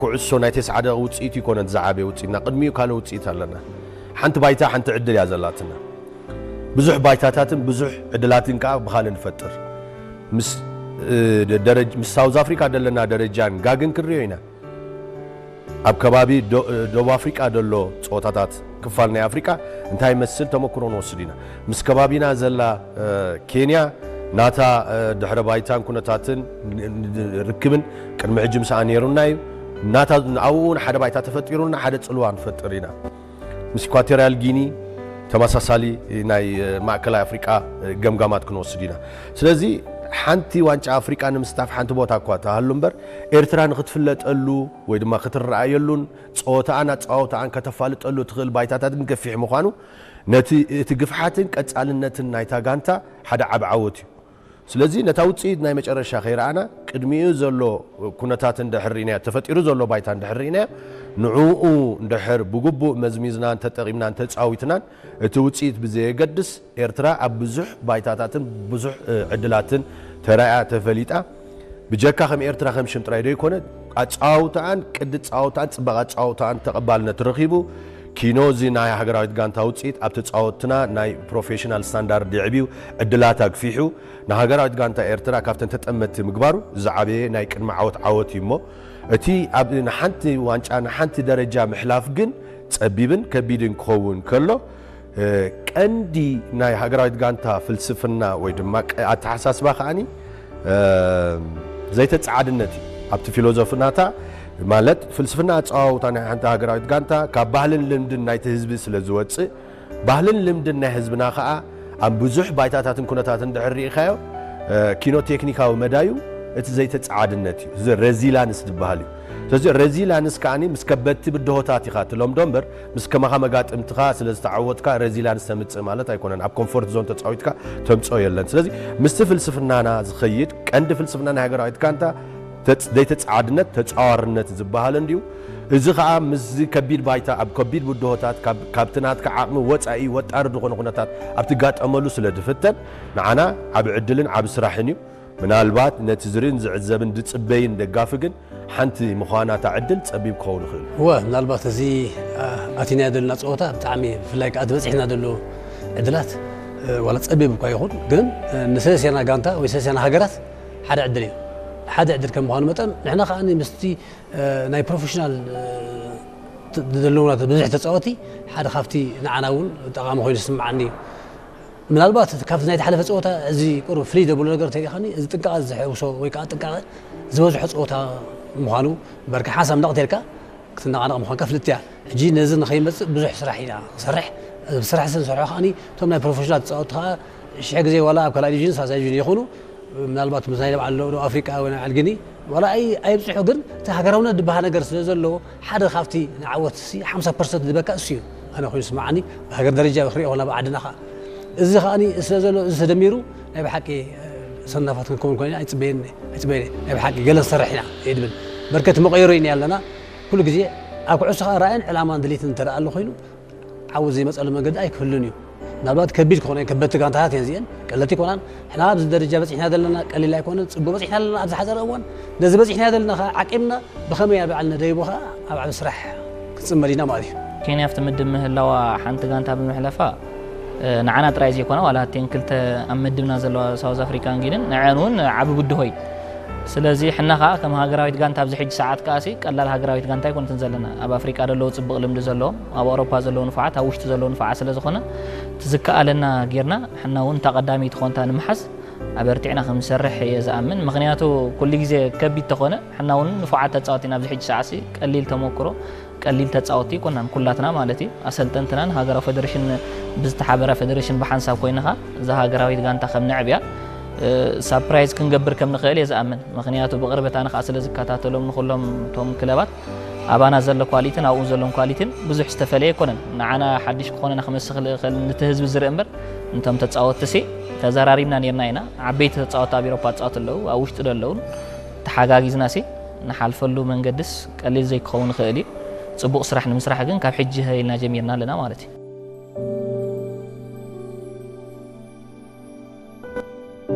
ኩዕሶ ናይ ተስዓ ደቂቕ ውፅኢት ይኮነን ዝዓበየ ውፅኢትና፣ ቅድሚኡ ካልእ ውፅኢት ኣለና። ሓንቲ ባይታ ሓንቲ ዕድል እያ ዘላትና። ብዙሕ ባይታታትን ብዙሕ ዕድላትን ከዓ ብኻልእ ንፈጥር። ምስ ደረጅ ምስ ሳውዝ ኣፍሪካ ዘለና ደረጃን ጋግን ክንሪኦ ኢና። ኣብ ከባቢ ደቡብ ኣፍሪቃ ዘሎ ፀወታታት ክፋል ናይ ኣፍሪቃ እንታይ ይመስል ተመክሮ ንወስድ ኢና። ምስ ከባቢና ዘላ ኬንያ ናታ ድሕረ ባይታን ኩነታትን ርክብን ቅድሚ ሕጂ ምስኣ ነይሩና እዩ። ናታ ኣብኡ እውን ሓደ ባይታ ተፈጢሩና ሓደ ፅልዋ ንፈጥር ኢና። ምስ ኢኳቶሪያል ጊኒ ተመሳሳሊ ናይ ማእከላይ ኣፍሪቃ ገምጋማት ክንወስድ ኢና። ስለዚ ሓንቲ ዋንጫ ኣፍሪቃ ንምስታፍ ሓንቲ ቦታ እኳ ተሃሉ እምበር ኤርትራ ንክትፍለጠሉ ወይ ድማ ክትረኣየሉን ፀወታኣን ኣፀዋውታኣን ከተፋልጠሉ ትኽእል ባይታታት ግን ገፊሕ ምዃኑ ነቲ እቲ ግፍሓትን ቀጻልነትን ናይታ ጋንታ ሓደ ዓቢ ዓወት እዩ። ስለዚ ነታ ውፅኢት ናይ መጨረሻ ከይረኣና ቅድሚኡ ዘሎ ኩነታት እንድሕር ርኢናዮ፣ ተፈጢሩ ዘሎ ባይታ እንድሕር ርኢናዮ፣ ንዕኡ እንድሕር ብግቡእ መዝሚዝናን ተጠቒምናን ተፃዊትናን እቲ ውፅኢት ብዘየገድስ ኤርትራ ኣብ ብዙሕ ባይታታትን ብዙሕ ዕድላትን ተራእያ ተፈሊጣ ብጀካ ከም ኤርትራ ከም ሽም ጥራይ ዶ ይኮነ ኣጻውታኣን ቅዲ ጻውታኣን ጽባቐ ኣጻውታኣን ተቐባልነት ረኺቡ ኪኖ እዚ ናይ ሃገራዊት ጋንታ ውፅኢት ኣብ ተጻወትና ናይ ፕሮፌሽናል ስታንዳርድ የዕብዩ ዕድላት ኣግፊሑ ንሃገራዊት ጋንታ ኤርትራ ካብተን ተጠመቲ ምግባሩ ዝዓበየ ናይ ቅድሚ ዓወት ዓወት እዩ እሞ እቲ ኣብ ንሓንቲ ዋንጫ ንሓንቲ ደረጃ ምሕላፍ ግን ጸቢብን ከቢድን ክኸውን ከሎ ቀንዲ ናይ ሃገራዊት ጋንታ ፍልስፍና ወይ ድማ ኣተሓሳስባ ከዓኒ ዘይተፀዓድነት እዩ ኣብቲ ፊሎዞፍናታ ማለት ፍልስፍና ኣፀዋውታ ናይ ሓንቲ ሃገራዊት ጋንታ ካብ ባህልን ልምድን ናይቲ ህዝቢ ስለ ዝወፅእ ባህልን ልምድን ናይ ህዝብና ከዓ ኣብ ብዙሕ ባይታታትን ኩነታትን ድሕር ርኢኻዮ ኪኖ ቴክኒካዊ መዳዩ እቲ ዘይተፀዓድነት እዩ እዚ ረዚላንስ ዝበሃል እዩ ስለዚ ረዚላንስ ከዓኒ ምስ ከበድቲ ብድሆታት ኢኻ ትለምዶ እምበር ምስ ከማኻ መጋጥምትኻ ስለ ዝተዓወትካ ረዚላንስ ተምፅእ ማለት ኣይኮነን ኣብ ኮንፎርት ዞን ተፃዊትካ ተምፅኦ የለን ስለዚ ምስቲ ፍልስፍናና ዝኸይድ ቀንዲ ፍልስፍና ናይ ሃገራዊት ጋንታ ዘይተፃዓድነት ተፃዋርነት ዝበሃል እንድዩ እዚ ከዓ ምስዚ ከቢድ ባይታ ኣብ ከቢድ ብድሆታት ካብቲ ናትካ ዓቕሚ ወፃኢ ወጣሪ ዝኾነ ኩነታት ኣብ ትጋጠመሉ ስለ ዝፍተን ንዓና ዓብ ዕድልን ዓብ ስራሕን እዩ ምናልባት ነቲ ዝርእን ዝዕዘብን ዝፅበይን ደጋፊ ግን ሓንቲ ምዃና እታ ዕድል ጸቢብ ክኸውን ይኽእል። እወ፣ ምናልባት እዚ ኣቲናዮ ዘለና ጸወታ ብጣዕሚ ብፍላይ ከኣ እቲ በጺሕና ዘሎ ዕድላት ዋላ ጸቢብ እኳ ይኹን ግን ንሰለስቴና ጋንታ ወይ ሰለስቴና ሃገራት ሓደ ዕድል እዩ። ሓደ ዕድል ከም ምዃኑ መጠን ንሕና ከኣ ምስቲ ናይ ፕሮፌሽናል ዘለውና ብዙሕ ተጻወቲ ሓደ ካብቲ ንዓና እውን ጠቓሚ ኮይኑ ዝስምዓኒ እዩ። ምናልባት ካብቲ ናይ ዝሓለፈ ፀወታ እዚ ቁሩብ ፍልይ ዘብሎ ነገር እንተሪእኻኒ እዚ ጥንቃቐ ዝሕውሶ ወይ ከዓ ጥንቃቐ ዝበዝሖ ፀወታ ምዃኑ እምበርከ ሓንሳብ ነቕ ተልካ ክትነቓነቕ ምዃንካ ፍልጥቲ እያ። ሕጂ ነዚ ንኸይመፅእ ብዙሕ ስራሕ ኢና ንሰርሕ። እዚ ስራሕ እዚ ንሰርሖ ከዓኒ እቶም ናይ ፕሮፌሽናል ተፃወትቲ ከዓ ሽሕ ግዜ ዋላ ኣብ ካልኣይ ዲቪዥን ሳልሳይ ዲቪዥን ይኹኑ ምናልባት ምስ ናይ በዓል ደቡብ ኣፍሪቃ ወይ ናይ በዓል ጊኒ ዋላ ኣይብፅሑ ግን እቲ ሃገራውነት ዝበሃል ነገር ስለ ዘለዎ ሓደ ካብቲ ንዓወት ሲ ሓምሳ ፐርሰንት ዝበካ እሱ እዩ ኣነ ኮይኑ ስምዓኒ ብሃገር ደረጃ ክሪኦ ኮላ ብዓድና ከዓ እዚ ከዓ ስለ ዘሎ እዚ ተደሚሩ ናይ ብሓቂ ሰናፋት ክንከውን ኮይና ኣይፅበየኒ ኣይፅበየኒ ናይ ብሓቂ ገለ ንሰርሕ ኢና እየ ድብል በርከት መቀየሮ ኢና ኣለና ኩሉ ግዜ ኣብ ኩዕሶ ከዓ ራእይን ዕላማን ድሌትን እንተደኣ ኣሎ ኮይኑ ዓወት ዘይመፀሉ መንገዲ ኣይክህሉን እዩ ምናልባት ከቢድ ክኾነ ከበድቲ ጋንታታት እየን እዚአን ቀለልቲ ይኮናን ሕና ኣብዚ ደረጃ በፂሕና ዘለና ቀሊል ኣይኮነን ፅቡቅ በፂሕና ዘለና ኣብዚ ሓፀረ እዋን ነዚ በፂሕና ዘለና ከዓ ዓቂምና ብኸመይ ኣብ ዓል ነደይቦ ከዓ ኣብ ዓብ ስራሕ ክንፅመድ ኢና ማለት እዩ ኬንያ ኣብቲ ምድብ ምህላዋ ሓንቲ ጋንታ ብምሕለፋ ንዓና ጥራይ ዘይኮነ ዋላ እተን ክልተ ኣብ ምድብና ዘለዋ ሳውዝ ኣፍሪካን ጊንን ንዐን እውን ዓቢ ብድሆ እዩ ስለዚ ሕና ከዓ ከም ሃገራዊት ጋንታ ኣብዚ ሕጂ ሰዓት ከኣሲ ቀላል ሃገራዊት ጋንታ ኣይኮነትን ዘለና ኣብ ኣፍሪቃ ዘለዉ ፅቡቅ ልምዲ ዘለዎም ኣብ ኣውሮፓ ዘለዉ ንፉዓት ኣብ ውሽጢ ዘለዉ ንፉዓት ስለ ዝኾነ እቲ ዝከኣለና ጌርና ሕና እውን እታ ቀዳመይቲ ኮንታ ንምሓዝ ኣበርቲዕና ከም ዝሰርሕ እየ ዝኣምን ምክንያቱ ኩሉ ግዜ ከቢድ ተኾነ ሕና እውን ንፉዓት ተፃወቲ ናብዚ ሕጂ ሰዓሲ ቀሊል ተመክሮ ቀሊል ተፃወቲ ኣይኮናን ኩላትና ማለት እዩ ኣሰልጠንትናን ሃገራዊ ፌደሬሽን ብዝተሓበረ ፌደሬሽን ብሓንሳብ ኮይንኻ እዛ ሃገራዊት ጋንታ ከም ነዕብያ ሳፕራይዝ ክንገብር ከም ንኽእል እየ ዝኣምን ምኽንያቱ ብቕርበት ኣነ ከዓ ስለ ዝከታተሎም ንኩሎም እቶም ክለባት ኣባና ዘሎ ኳሊትን ኣብኡ ዘሎን ኳሊትን ብዙሕ ዝተፈለየ ኣይኮነን ንዓና ሓድሽ ክኾነና ክመስል ይኽእል ንቲ ህዝቢ ዝርኢ እምበር እንቶም ተፃወትቲ ሲ ተዘራሪብና ነርና ኢና ዓበይቲ ተፃወቲ ኣብ ኤሮፓ ዝፃወቱ ኣለዉ ኣብ ውሽጢ ዶ ኣለዉ ተሓጋጊዝና ሲ ንሓልፈሉ መንገድስ ቀሊል ዘይክኸውን ይኽእል እዩ። ፅቡቕ ስራሕ ንምስራሕ ግን ካብ ሕጂ ሃህ ኢልና ጀሚርና ኣለና ማለት እዩ።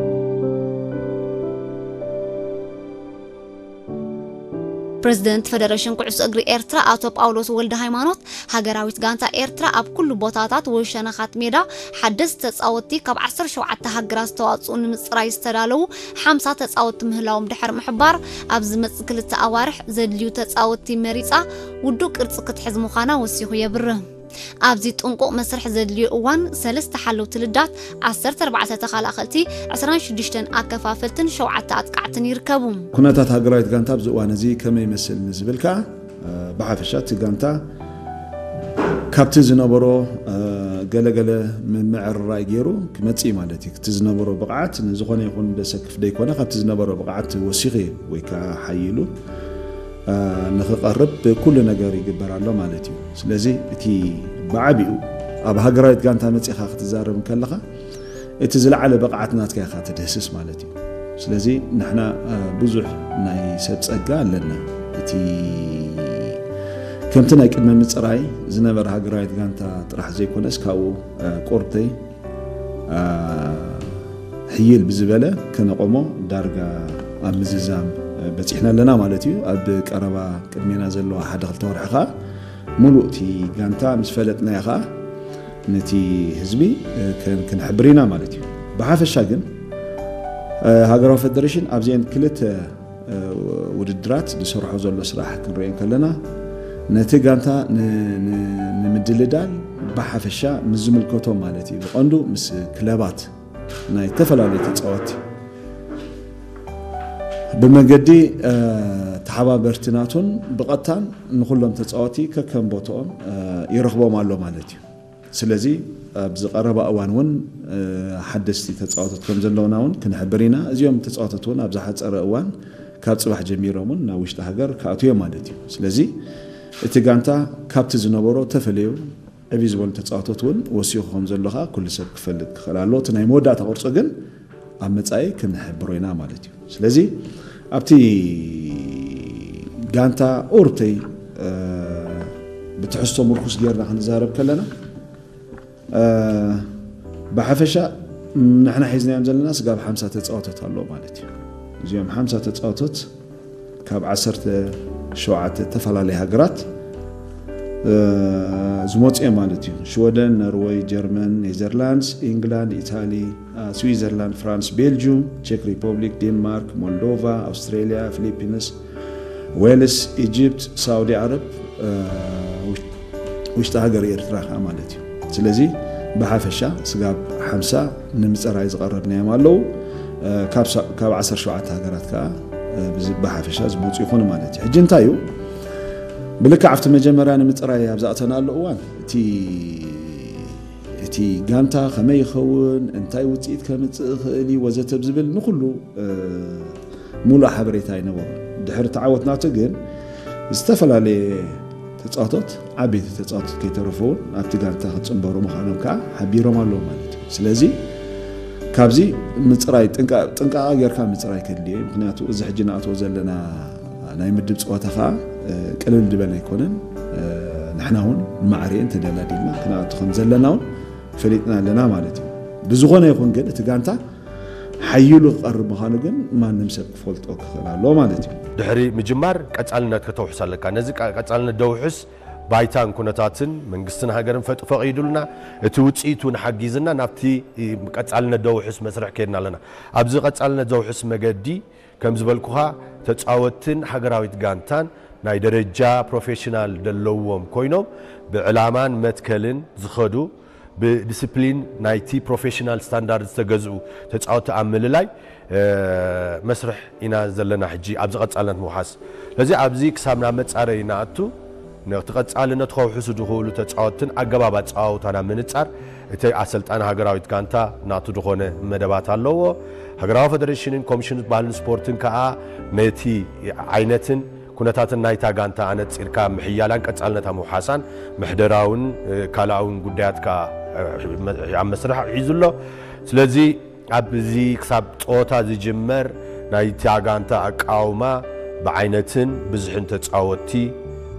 ፕረዚደንት ፈደረሽን ኩዕሶ እግሪ ኤርትራ ኣቶ ጳውሎስ ወልደ ሃይማኖት፣ ሃገራዊት ጋንታ ኤርትራ ኣብ ኩሉ ቦታታት ወይ ሸነኻት ሜዳ ሓደስቲ ተጻወትቲ ካብ ዓሰርተ ሸውዓተ ሃገራት ዝተዋጽኡ ንምጽራይ ዝተዳለዉ ሓምሳ ተጻወትቲ ምህላዎም ድሕሪ ምሕባር፣ ኣብ ዝመጽእ ክልተ ኣዋርሕ ዘድልዩ ተጻወትቲ መሪጻ ውዱእ ቅርጺ ክትሕዝ ምዃና ወሲኹ የብርህ። ኣብዚ ጥንቁቕ መስርሕ ዘድልዮ እዋን፣ ሰለስተ ሓለውቲ ልዳት፣ ዓሰርተ ኣርባዕተ ተኸላኸልቲ፣ ዕስራን ሽዱሽተን ኣከፋፈልትን ሸውዓተ ኣጥቃዕትን ይርከቡ። ኩነታት ሃገራዊት ጋንታ ኣብዚ እዋን እዚ ከመይ ይመስል ንዝብል ከኣ፣ እ፣ ብሓፈሻ እቲ ጋንታ ካብቲ ዝነበሮ፣ እ፣ ገለገለ ምምዕርራይ ገይሩ ክመጽእ እዩ ማለት እዩ። እቲ ዝነበሮ ብቕዓት ንዝኾነ ይኹን ዘሰክፍ ደይኮነ፣ ካብቲ ዝነበሮ ብቕዓት ወሲኹ ወይ ከኣ ሓይሉ፣ እ፣ ንኽቐርብ ኩሉ ነገር ይግበር ኣሎ ማለት እዩ። ስለዚ እቲ ብዓቢኡ ኣብ ሃገራዊት ጋንታ መጺኻ ክትዛረብ እንከለኻ፣ እቲ ዝለዓለ ብቕዓት ናትካ ኢኻ ትድህስስ ማለት እዩ። ስለዚ ንሕና፣ እ፣ ብዙሕ ናይ ሰብ ጸጋ ኣለና። እቲ ከምቲ ናይ ቅድመ ምጽራይ ዝነበረ ሃገራዊት ጋንታ ጥራሕ ዘይኮነስ፣ ካብኡ፣ እ፣ ቁርተይ፣ እ፣ ሕይል ብዝበለ ከነቆሞ ዳርጋ ኣብ ምዝዛም፣ እ፣ በጺሕና ኣለና ማለት እዩ። ኣብ ቀረባ ቅድሜና ዘለዋ ሓደ ክልተ ወርሒ ኸኣ፣ ምሉእ እቲ ጋንታ ምስ ፈለጥናዮ ኸኣ፣ ነቲ ህዝቢ፣ እ፣ ከን-፣ ክንሕብር ኢና ማለት እዩ። ብሓፈሻ ግን፣ እ፣ ሃገራዊ ፈደሬሽን ኣብዚአን ክልተ፣ እ፣ ውድድራት ዝሰርሖ ዘሎ ስራሕ ክንሪኦ ከለና፣ ነቲ ጋንታ ን-፣ ን-፣ ንምድልዳል ብሓፈሻ ምስ ዝምልከቶም ማለት እዩ፣ ብቐንዱ ምስ ክለባት ናይ ዝተፈላለዩ ተጻወትቲ ብመገዲ፣ እ፣ ተሓባበርቲ ናቱን ብቐጥታን ንኹሎም ተጻወትቲ ከከም ቦትኦም፣ እ፣ ይረኽቦም ኣሎ ማለት እዩ። ስለዚ ኣብዚ ቀረባ እዋን እውን፣ እ፣ ሓደስቲ ተጻወቶት ከም ዘለውና እውን ክንሕብር ኢና። እዚኦም ተጻወቶት እውን ኣብ ዝሓጸረ እዋን ካብ ጽባሕ ጀሚሮም እውን ናብ ውሽጢ ሃገር ክኣትዉ እዮም ማለት እዩ። ስለዚ እቲ ጋንታ ካብቲ ዝነበሮ ተፈልዩ ዕብይ ዝበሉ ተጻወቶት እውን ወሲኹ ከም ዘሎ ከኣ ኩሉ ሰብ ክፈልጥ ክኽእል ኣለዎ። እቲ ናይ መወዳእታ ቅርጹ ግን ኣብ መጻኢ ክንሕብሮ ኢና ማለት እዩ። ስለዚ ኣብቲ ጋንታ ኦርተይ፣ እ፣ ብትሕዝቶ ምርኩስ ጌርና ክንዛረብ ከለና፣ እ፣ ብሓፈሻ ንሕና ሒዝናዮም ዘለና ስጋብ ሓምሳ ተጻወቶት ኣለዉ ማለት እዩ። እዚኦም ሓምሳ ተጻወቶት ካብ ዓሰርተ ሸውዓተ ዝተፈላለያ ሃገራት፣ እ፣ ዝመጹ እዮም ማለት እዩ። ሽወደን፣ ኖርወይ፣ ጀርመን፣ ኔዘርላንድስ፣ ኢንግላንድ፣ ኢታሊ፣ እ፣ ስዊዘርላንድ፣ ፍራንስ፣ ቤልጁም፣ ቼክ ሪፐብሊክ፣ ዴንማርክ፣ ሞልዶቫ፣ ኣውስትሬልያ፣ ፊሊፒንስ፣ ዌልስ፣ ኢጅፕት፣ ሳውዲ ዓረብ፣ እ፣ ውሽ-፣ ውሽጢ ሃገር ኤርትራ ከኣ ማለት እዩ። ስለዚ ብሓፈሻ ስጋብ ሓምሳ ንምጽራይ ዝቐረብናዮም ኣለዉ። እ፣ ካብ ሳ-፣ ካብ ዓሰርተ ሸውዓተ ሃገራት ከኣ፣ እ፣ ብዝ-፣ ብሓፈሻ ዝመጹ ይኾኑ ማለት እዩ። ሕጂ እንታይ እዩ? ብልክዕ ኣብቲ መጀመርያ ንምጽራይ ኣብ ዝኣተናሉ እዋን፣ እቲ፣ እቲ ጋንታ ከመይ ይኸውን፣ እንታይ ውጽኢት ከምጽእ ይኽእል እዩ ወዘተ ብዝብል ንኹሉ፣ እ፣ ሙሉእ ሓበሬታ ኣይነበሮን። ድሕሪ ተዓወት ናቱ ግን ዝተፈላለየ ተጻወቶት፣ ዓበይቲ ተጻወቶት ከይተረፉ እውን ኣብቲ ጋንታ ክጽንበሩ ምዃኖም ከኣ ሓቢሮም ኣለዉ ማለት እዩ። ስለዚ ካብዚ ምጽራይ ጥንቃ-፣ ጥንቃቐ ጌርካ ምጽራይ ከድልዮ እዩ። ምኽንያቱ እዚ ሕጂ ንኣትዎ ዘለና ናይ ምድብ ጸወታ ከኣ፣ እ፣ ቅልል ዝበለ ኣይኮነን። እ፣ ንሕና እውን ንማዕሪኤን ተደላዲልና ክንኣቱ ከም ዘለና እውን ፈሊጥና ኣለና ማለት እዩ። ብዝኾነ ይኹን ግን እቲ ጋንታ ሓይሉ ክቐርብ ምዃኑ ግን ማንም ሰብ ክፈልጦ ክኽእል ኣለዎ ማለት እዩ። ድሕሪ ምጅማር ቀጻልነት ከተውሕስ ኣለካ። ነዚ ቀ-፣ ቀጻልነት ደውሕስ ባይታን ኩነታትን መንግስትን ሃገርን ፈጥ-፣ ፈቒዱልና፣ እቲ ውጽኢት እውን ሓጊዝና ናብቲ፣ እ፣ ቀጻልነት ደውሕስ መስርሕ ከይድና ኣለና። ኣብዚ ቀጻልነት ዘውሕስ መገዲ ከም ዝበልኩኻ ተጻወትን ሃገራዊት ጋንታን ናይ ደረጃ ፕሮፌሽናል ዘለዎም ኮይኖም ብዕላማን መትከልን ዝኸዱ ብዲስፕሊን ናይቲ ፕሮፌሽናል ስታንዳርድ ዝተገዝኡ ተጻወቲ ኣብ ምልላይ፣ እ፣ መስርሕ ኢና ዘለና ሕጂ ኣብዚ ቀጻልነት ምውሓስ። ስለዚ ኣብዚ ክሳብ ናብ መጻረይ ንኣቱ፣ ነቲ ቀጻልነት ከውሕሱ ዝኽእሉ ተጻወትን ኣገባብ ኣጸዋውታን ኣብ ምንጻር፣ እቲ ኣሰልጣኒ ሃገራዊት ጋንታ ናቱ ዝኾነ መደባት ኣለዎ። ሃገራዊ ፈደሬሽንን ኮሚሽን ባህልን ስፖርትን ከኣ ነቲ ዓይነትን ኩነታትን ናይታ ጋንታ ኣነጺርካ ምሕያላን ቀጻልነታ ምውሓሳን ምሕደራውን፣ እ፣ ካልኣውን ጉዳያት ከኣ፣ እ፣ ኣብ መስርሕ ሒዙ ኣሎ። ስለዚ ኣብዚ ክሳብ ጸወታ ዝጅመር ናይታ ጋንታ ኣቃውማ ብዓይነትን ብዝሕን ተጻወትቲ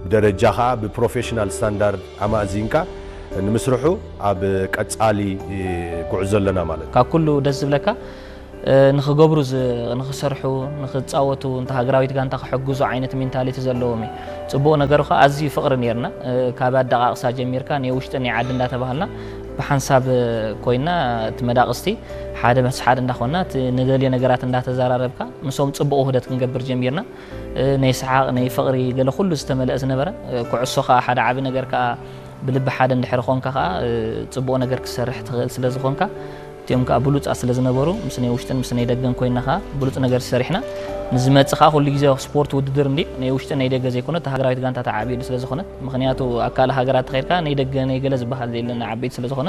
ብደረጃ ከኣ ብፕሮፌሽናል ስታንዳርድ ኣማእዚንካ ንምስርሑ ኣብ ቀጻሊ ጉዕዞ ኣለና ማለት እዩ። ካብ ኩሉ ደስ ዝብለካ ንክገብሩ ንክሰርሑ፣ ንክፃወቱ፣ እንተ ሃገራዊት ጋንታ ክሕግዙ ዓይነት ሜንታሊቲ ዘለዎም እዩ። ፅቡቕ ነገሩ ከዓ ኣዝዩ ፍቕሪ ነርና። ካብ ኣደቃቕሳ ጀሚርካ ናይ ውሽጢ ናይ ዓዲ እንዳተባሃልና ብሓንሳብ ኮይና እቲ መዳቕስቲ ሓደ ምስ ሓደ እንዳኾንና እቲ ንደልዮ ነገራት እንዳተዘራረብካ ምስኦም ፅቡቕ ውህደት ክንገብር ጀሚርና። ናይ ሰሓቕ ናይ ፍቕሪ ገለ ኩሉ ዝተመልአ ዝነበረ። ኩዕሶ ከዓ ሓደ ዓቢ ነገር ከዓ ብልቢ ሓደ እንድሕር ኾንካ ከዓ ፅቡቕ ነገር ክትሰርሕ ትኽእል ስለ ዝኾንካ እቲኦም ከዓ ብሉፃት ስለ ዝነበሩ ምስ ናይ ውሽጥን ምስ ናይ ደገን ኮይና ከዓ ብሉፅ ነገር ሰሪሕና። ንዝመፅእ ከዓ ኩሉ ግዜ ስፖርት ውድድር እንዲ ናይ ውሽጥን ናይ ደገ ዘይኮነ እታ ሃገራዊት ጋንታ ተዓብየሉ ስለ ዝኾነት። ምክንያቱ ኣብ ካልእ ሃገራት ተኸይድካ ናይ ደገ ናይ ገለ ዝበሃል የለን፣ ዓበይቲ ስለ ዝኾነ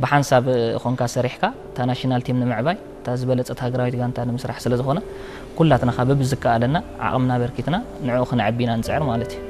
ብሓንሳብ ኾንካ ሰሪሕካ እታ ናሽናል ቲም ንምዕባይ እታ ዝበለፀት ሃገራዊት ጋንታ ንምስራሕ ስለ ዝኾነ ኩላትና ከዓ በብዝከኣለና ዓቕምና በርኪትና ንዕኡ ክነዕቢ ኢና ንፅዕር ማለት እዩ።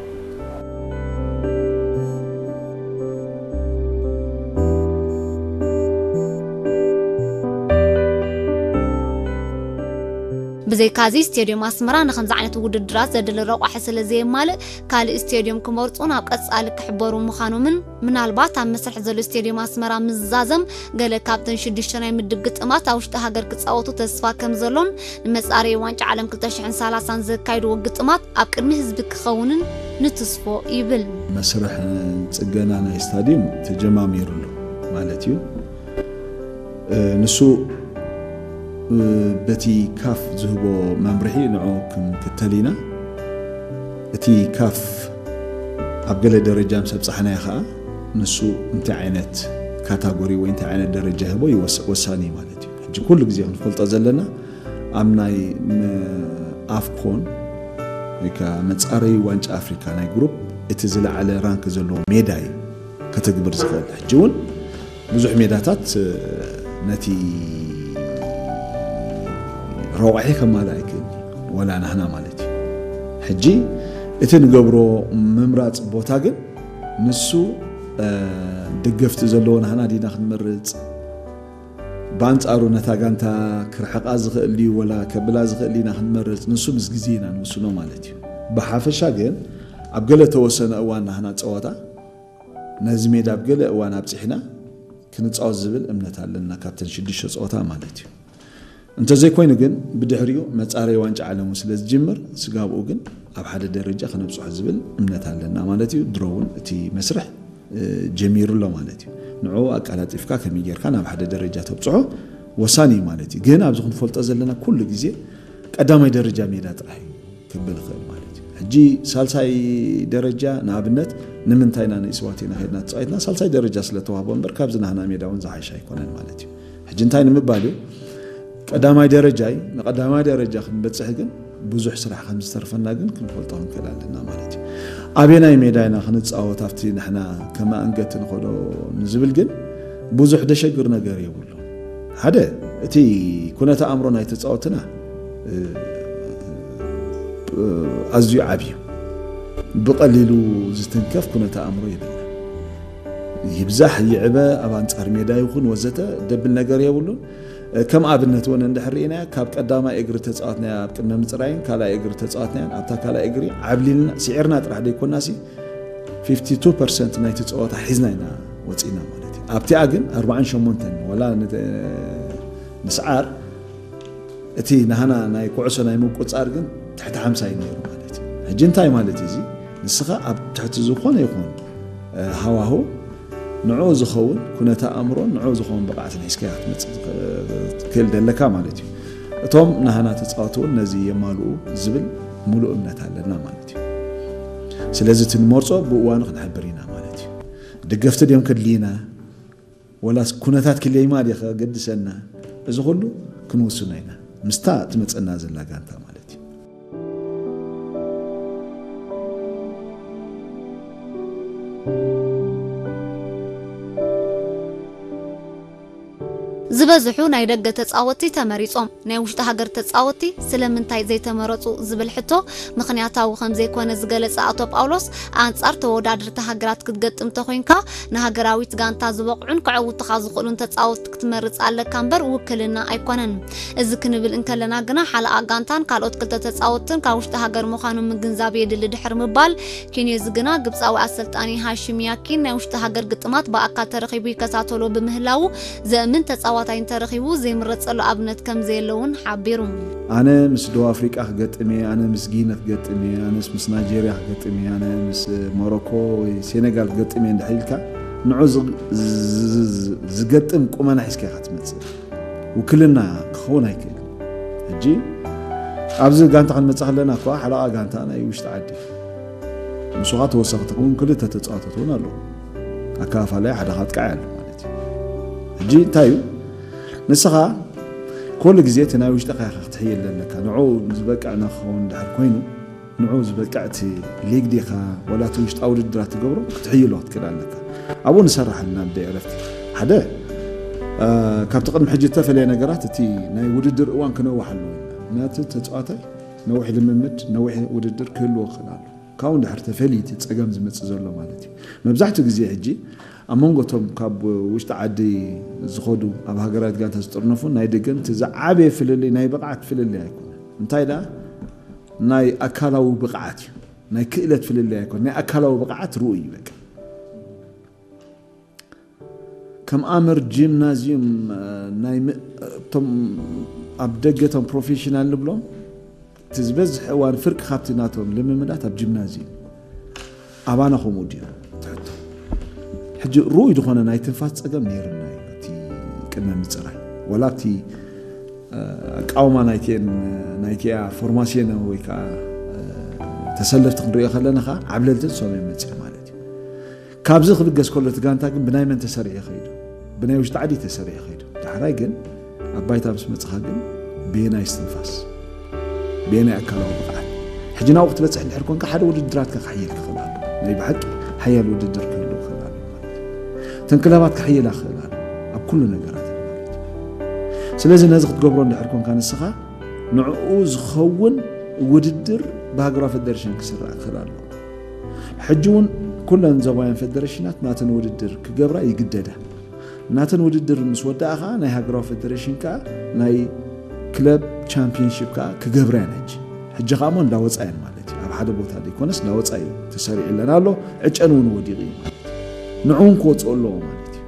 ብዘይካዚ ስቴድዮም ኣስመራ ንከምዚ ዓይነት ውድድራት ዘድሊ ረቋሒ ስለ ዘየማልእ ካልእ ስቴድዮም ክመርፁን ኣብ ቀፃሊ ክሕበሩ ምዃኖምን ምናልባት ኣብ መስርሕ ዘሎ ስቴድዮም ኣስመራ ምዝዛዘም ገለ ካብተን ሽዱሽተ ናይ ምድብ ግጥማት ኣብ ውሽጢ ሃገር ክፃወቱ ተስፋ ከም ዘሎን ንመፃረዪ ዋንጫ ዓለም ክልተ ሽሕን ሰላሳን ዘካይድዎ ግጥማት ኣብ ቅድሚ ህዝቢ ክኸውንን ንትስፎ ይብል። መስርሕ ፅገና ናይ ስታድዩም ተጀማሚሩ ኣሎ ማለት እዩ። ንሱ በቲ ካፍ ዝህቦ መምርሒ ንዑ ክንክተል ኢና። እቲ ካፍ ኣብ ገለ ደረጃ ምስ ኣብፃሕናዮ ከዓ ንሱ እንታይ ዓይነት ካታጎሪ ወይ እንታይ ዓይነት ደረጃ ይህቦ ወሳኒ ማለት እዩ። ሕጂ ኩሉ ግዜ ክንፈልጦ ዘለና ኣብ ናይ ኣፍኮን ወይ ከዓ መፃረዩ ዋንጫ ኣፍሪካ ናይ ግሩፕ እቲ ዝለዓለ ራንክ ዘለዎ ሜዳ እዩ ከተግብር ዝኽእል። ሕጂ እውን ብዙሕ ሜዳታት ነቲ ረቋሒ ከማልእ ኣይክእል ወላ ናህና ማለት እዩ። ሕጂ እቲ ንገብሮ ምምራፅ ቦታ ግን ንሱ ደገፍቲ ዘለዎ ናህና ዲና ክንመርፅ ብኣንፃሩ ነታ ጋንታ ክርሕቓ ዝኽእል ድዩ ወላ ከብላ ዝኽእል ኢና ክንመርፅ ንሱ ምስ ግዜ ኢና ንውስኖ ማለት እዩ። ብሓፈሻ ግን ኣብ ገለ ተወሰነ እዋን ናህና ፀወታ ነዚ ሜዳ ኣብ ገለ እዋን ኣብፂሕና ክንፃወት ዝብል እምነት ኣለና ካብተን ሽዱሽተ ፀወታ ማለት እዩ። እንተዘይኮይኑ ግን ብድሕሪኡ መፃረይ ዋንጫ ዓለሙ ስለ ዝጅምር ስጋብኡ ግን ኣብ ሓደ ደረጃ ከነብፅሖ ዝብል እምነት ኣለና ማለት እዩ። ድሮ እውን እቲ መስርሕ ጀሚሩ ኣሎ ማለት እዩ። ንዑ ኣቀላጢፍካ ከመይ ጌርካ ናብ ሓደ ደረጃ ተብፅሖ ወሳኒ እዩ ማለት እዩ። ግን ኣብዚ ክንፈልጦ ዘለና ኩሉ ግዜ ቀዳማይ ደረጃ ሜዳ ጥራሕ እዩ ክብል ይኽእል ማለት እዩ። ሕጂ ሳልሳይ ደረጃ ንኣብነት ንምንታይ ኢና ንእስዋት ኢና ከድና ተፃዊትና ሳልሳይ ደረጃ ስለተዋህቦ እምበር ካብዚ ናህና ሜዳ እውን ዝሓሸ ኣይኮነን ማለት እዩ። ሕጂ እንታይ ንምባል እዩ ቀዳማይ ደረጃ እዩ። ንቀዳማይ ደረጃ ክንበፅሕ ግን ብዙሕ ስራሕ ከም ዝተርፈና ግን ክንፈልጦ ክንክእል ኣለና ማለት እዩ። ኣበየናይ ሜዳ ኢና ክንፃወት ኣብቲ ንሕና ከማእንገት ንኸዶ ንዝብል ግን ብዙሕ ደሸግር ነገር የብሉ። ሓደ እቲ ኩነተ ኣእምሮ ናይ ተፃወትና ኣዝዩ ዓብዩ ብቐሊሉ ዝትንከፍ ኩነተ ኣእምሮ የብልና። ይብዛሕ ይዕበ ኣብ ኣንፃር ሜዳ ይኹን ወዘተ ደብል ነገር የብሉን። ከም ኣብነት እውን እንድሕር ርኢናዮ ካብ ቀዳማይ እግሪ ተፃወትናያ ኣብ ቅድመ ምፅራይን ካልኣይ እግሪ ተፃወትናያን ኣብታ ካልኣይ እግሪ ዓብሊልና ስዒርና ጥራሕ ዘይኮናሲ ፊፍቲ ቱ ፐርሰንት ናይቲ ፀወታ ሒዝና ኢና ወፂና ማለት እዩ። ኣብቲኣ ግን ኣርባዓን ሸሞንተን ወላ ምስዓር እቲ ናህና ናይ ኩዕሶ ናይ ምቁፃር ግን ትሕቲ ሓምሳ እዩ ነይሩ ማለት እዩ። ሕጂ እንታይ ማለት እዩ እዚ ንስኻ ኣብ ትሕቲ ዝኾነ ይኹን ሃዋሁ ንዕኡ ዝኸውን ኩነተ ኣእምሮን ንዕኡ ዝኸውን ብቕዓትን ሒዝካያ ክትመፅእ ትኽእል ደለካ ማለት እዩ። እቶም ናህና ተፃወቲ እውን ነዚ የማልኡ ዝብል ሙሉእ እምነት ኣለና ማለት እዩ። ስለዚ እቲ ንመርፆ ብእዋኑ ክንሕብር ኢና ማለት እዩ። ደገፍቲ ድዮም ከድልዩና ወላስ ኩነታት ክለይማ ድየ ከገድሰና እዚ ኩሉ ክንውስኖ ኢና ምስታ ትመፀና ዘላ ጋንታ ማለት እዩ። ዝበዝሑ ናይ ደገ ተጻወትቲ ተመሪጾም፣ ናይ ውሽጢ ሃገር ተጻወትቲ ስለምንታይ ዘይተመረጹ ዝብል ሕቶ ምኽንያታዊ ከም ዘይኮነ ዝገለጸ ኣቶ ጳውሎስ፣ ኣንጻር ተወዳደርቲ ሃገራት ክትገጥም ተኾይንካ ንሃገራዊት ጋንታ ዝበቕዑን ከዕውቱኻ ዝኽእሉን ተጻወትቲ ክትመርጽ ኣለካ እምበር ውክልና ኣይኮነን። እዚ ክንብል እንከለና ግና ሓለቓ ጋንታን ካልኦት ክልተ ተጻወትትን ካብ ውሽጢ ሃገር ምዃኖም ምግንዛብ የድሊ ድሕሪ ምባል፣ ኬንዮዚ ግና ግብጻዊ ኣሰልጣኒ ሃሽም ያኪን ናይ ውሽጢ ሃገር ግጥማት ብኣካል ተረኺቡ ይከታተሎ ብምህላዉ ዘእምን ተጻዋቲ ተፈታኝ ተረኺቡ ዘይምረጸሉ ኣብነት ከም ዘየለ እውን ሓቢሩ። ኣነ ምስ ደቡብ ኣፍሪቃ ክገጥም እየ፣ ኣነ ምስ ጊኒ ክገጥም እየ፣ ኣነስ ምስ ናይጄርያ ክገጥም እየ፣ ኣነ ምስ ሞሮኮ ወይ ሴኔጋል ክገጥም እየ እንድሕር ኢልካ ንዑ ዝ- ዝ- ዝ- ዝገጥም ቁመና ሒዝካ ኢኻ ትመጽእ። ውክልና ክኸውን ኣይክእልን። ሕጂ ኣብዚ ጋንታ ክንመጽእ ከለና እኳ ሓለቓ ጋንታ ናይ ውሽጢ ዓዲ፣ ንሱ ኸዓ ተወሰኽቲ ክውን ክልተ ተጻዋቶት እውን ኣለዉ። ኣከፋፋላይ ሓደ ካጥቃዕ ኣሎ ማለት እዩ። ሕጂ እንታይ እዩ? ንስኻ ኩሉ ግዜ እቲ ናይ ውሽጥኻ ኢኻ ክትሕይል ኣለካ። ንዑ ዝበቅዕ ንክኸውን ድሕር ኮይኑ ንዑ ዝበቅዕ እቲ ሊግ ዲኻ ወላ እቲ ውሽጣዊ ውድድራት ትገብሮ ክትሕይሎ ክትክእል ኣለካ። ኣብኡ ንሰርሕ ኣለና ብደይ ዕረፍቲ። ሓደ ካብቲ ቅድሚ ሕጂ እተፈለየ ነገራት እቲ ናይ ውድድር እዋን ክነውሕ ኣለዎ። ምክንያቱ ተፃዋታይ ነዊሕ ልምምድ ነዊሕ ውድድር ክህልዎ ክኽእል ኣሎ። ካብኡ ድሕር ተፈልዩ እቲ ፀገም ዝመፅእ ዘሎ ማለት እዩ። መብዛሕትኡ ግዜ ሕጂ ኣብ መንጎ እቶም ካብ ውሽጢ ዓዲ ዝኸዱ ኣብ ሃገራት ጋንታ ዝጥርነፉ ናይ ደገን እቲ ዝዓበየ ፍልልይ ናይ ብቕዓት ፍልልይ ኣይኮነን። እንታይ ደኣ ናይ ኣካላዊ ብቕዓት እዩ። ናይ ክእለት ፍልልይ ኣይኮነን። ናይ ኣካላዊ ብቕዓት ርኡይ እዩ በቃ። ከም ኣምር ጂምናዚዩም ናይ እቶም ኣብ ደገ እቶም ፕሮፌሽናል ንብሎም እቲ ዝበዝሕ እዋን ፍርቂ ካብቲ ናቶም ልምምዳት ኣብ ጂምናዚዩም ኣባና ከምኡ ድዩ ትሕቶ። ሕጂ ርኡይ ዝኾነ ናይ ትንፋስ ፀገም ነይርና እዩ እቲ ቅድመ ምፅራይ ወላ ኣብቲ ኣቃውማ ናይቲን ናይቲያ ፎርማሲዮን ወይ ከዓ ተሰለፍቲ ክንሪኦ ከለና ከዓ ዓብለልትን ሰብን መፅእ ማለት እዩ። ካብዚ ክብገስ ከሎ እቲ ጋንታ ግን ብናይ መን ተሰሪዑ ከይዱ? ብናይ ውሽጢ ዓዲ ተሰሪዑ ከይዱ። ዳሕራይ ግን ኣብ ባይታ ምስ መፅኻ ግን ብየናይ እስትንፋስ ብየናይ ኣካላዊ ብቕዓት ሕጂ ናብኡ ክትበፅሕ እንድሕር ኮንካ ሓደ ውድድራትካ ክሕየል ክኽእል ኣሎ። ናይ ብሓቂ ሓያል ውድድር ክህሉ ክኽእል ኣሎ ማለት እዩ። እተን ክለባት ክሕየላ ክኽእል ኣሎ ኣብ ኩሉ ነገራት ማለት እዩ። ስለዚ ነዚ ክትገብሮ እንድሕር ኮንካ ንስኻ ንዕኡ ዝኸውን ውድድር ብሃገራዊ ፌደሬሽን ክስራዕ ክኽእል ኣሎ። ሕጂ እውን ኩለን ዞባውያን ፌደሬሽናት ናተን ውድድር ክገብራ ይግደዳ። ናተን ውድድር ምስ ወዳኣ ከዓ ናይ ሃገራዊ ፌደሬሽን ከዓ ናይ ክለብ ቻምፒየንሺፕ ከዓ ክገብራ እየን። ሕጂ ሕጂ ከዓ እሞ እንዳወፃ እየን ማለት እዩ። ኣብ ሓደ ቦታ ዘይኮነስ እንዳወፃ እዩ ተሰሪዑለን ኣሎ። ዕጨን እውን ወዲቑ እዩ ማለት እዩ። ንዕውን ክወፅኦ ኣለዎ ማለት እዩ።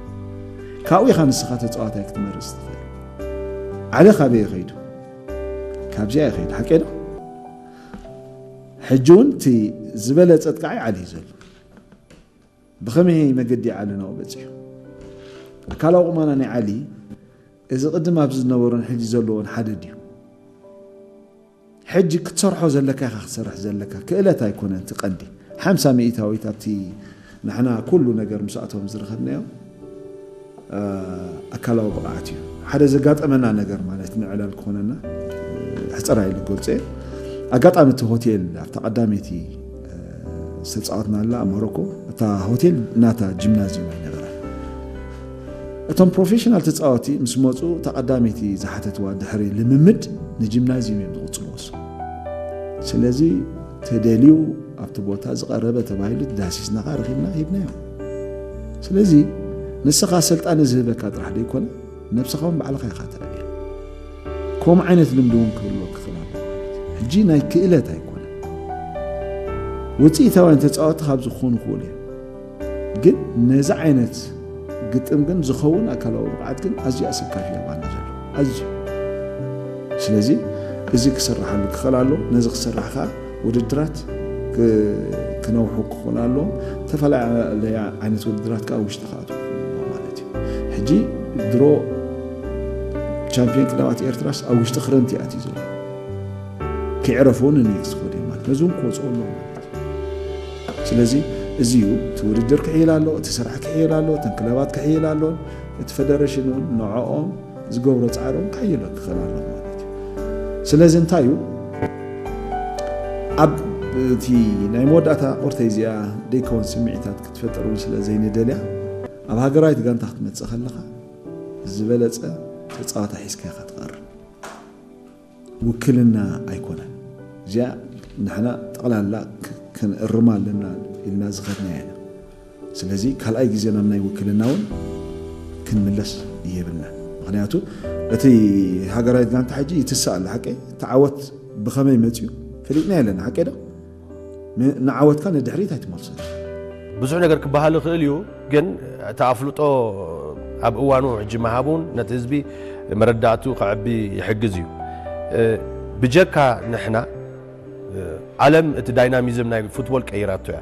ካብኡ ኢኻ ንስኻ ተፃዋታይ ክትመርፅ ትኽእል። ዓሊ ካበይ ይኸይዱ? ካብዚኣ ይኸይዱ። ሓቀይ ዶ? ሕጂ እውን እቲ ዝበለፀ ጥቃዓይ ዓሊ እዩ ዘሎ። ብኸመይ መገዲ ዓሊ ናብኡ በፂሑ? ኣካላዊ ቁመና ናይ ዓሊ እዚ ቅድም ኣብዚ ዝነበሮን ሕጂ ዘለዎን ሓደ ድዩ? ሕጂ ክትሰርሖ ዘለካ ኢኻ ክትሰርሕ ዘለካ። ክእለት ኣይኮነን እቲ ቀንዲ። ሓምሳ ሚእታዊት ኣብቲ ንሕና ኩሉ ነገር ምስኣቶም ዝረኸብናዮ ኣካላዊ ብቕዓት እዩ። ሓደ ዘጋጠመና ነገር ማለት ንዕላል ክኾነና ሕፅር ኢለ ክገልፆ እየ። ኣጋጣሚ እቲ ሆቴል ኣብታ ቀዳመይቲ ዝተፃወትናላ ኣብ ሞሮኮ እታ ሆቴል ናታ ጂምናዚየም ኣይነበራን። እቶም ፕሮፌሽናል ተፃወቲ ምስ መፁ እታ ቀዳመይቲ ዝሓተትዋ ድሕሪ ልምምድ ንጂምናዚየም እዮም ዝቕፅልዎ። ስለዚ ተደልዩ ኣብቲ ቦታ ዝቐረበ ተባሂሉ ዳሲስናኻ ረኺብና ሂብናዮም። ስለዚ ንስኻ ኣሰልጣኒ ዝህበካ ጥራሕ ደይኮነ ነብስኻ እውን ባዕልኻ ኢኻ ተዕብያ። ከምኡ ዓይነት ልምዲ እውን ክህልወካ ክኽእል ኣለዎ ማለት እዩ። ሕጂ ናይ ክእለት ኣይኮነን። ውፅኢታውያን ተፃወቲ ካብ ዝኾኑ ክኽእሉ እዮም። ግን ነዚ ዓይነት ግጥም ግን ዝኸውን ኣካላዊ ብቕዓት ግን ኣዝዩ ኣሰካፊ እዩ ኣባና ዘሎ። ኣዝዩ። ስለዚ እዚ ክስራሓሉ ክኽእል ኣሎ። ነዚ ክስራሕ ከዓ ውድድራት ክ- ክነውሑ ክኾኑ ኣለዎም። ዝተፈላለያ ዓይነት ውድድራት ከዓ ውሽጢ ክኣትዉ ክኽእሉ ኣለዎም ማለት እዩ። ሕጂ ድሮ ቻምፒዮን ክለባት ኤርትራስ ኣብ ውሽጢ ክረምቲ ኣትዩ ዘሎ። ከይዕረፉ እውን ንኔክስት ክኸዱ እዮም ማለት ነዚ እውን ክወፅኡ ኣለዎም ማለት እዩ። ስለዚ እዚ እዩ እቲ ውድድር ክሕይል ኣሎ፣ እቲ ስራሕ ክሕይል ኣሎ፣ እተን ክለባት ክሕይል ኣለዎን እቲ ፌደሬሽን እውን ንዕኦም ዝገብሮ ፃዕሪ እውን ክሕይሎ ክኽእል ኣሎ ማለት እዩ። ስለዚ እንታይ እዩ ኣብ እቲ ናይ መወዳእታ ቁርተይ እዚኣ ደይከውን ስምዒታት ክትፈጥር እውን ስለ ዘይንደልያ ኣብ ሃገራዊት ጋንታ ክትመፅእ ከለኻ ዝበለፀ ተፃዋታ ሒዝካ ኢኻ ትቐርብ። ውክልና ኣይኮነን። እዚኣ ንሕና ጠቕላላ ክ- ክንእርማ ኣለና ኢልና ዝኸድና ኢና። ስለዚ ካልኣይ ግዜ ናብ ናይ ውክልና እውን ክንምለስ የብልና። ምክንያቱ እቲ ሃገራዊት ጋንታ ሕጂ ይትስእ ኣሎ ሓቂ። እቲ ዓወት ብኸመይ መፅዩ ፈሊጥና የለና ሓቂ ዶ? ን- ንዓወትካ ንድሕሪት ኣይትመልሶ። ብዙሕ ነገር ክበሃል ይኽእል እዩ፣ ግን እቲ ኣፍልጦ ኣብ እዋኑ ሕጂ ምሃብ እውን ነቲ ህዝቢ መረዳእቱ ከዕቢ ይሕግዝ እዩ። ብጀካ ንሕና፣ ዓለም እቲ ዳይናሚዝም ናይ ፉትቦል ቀይራቶ እያ።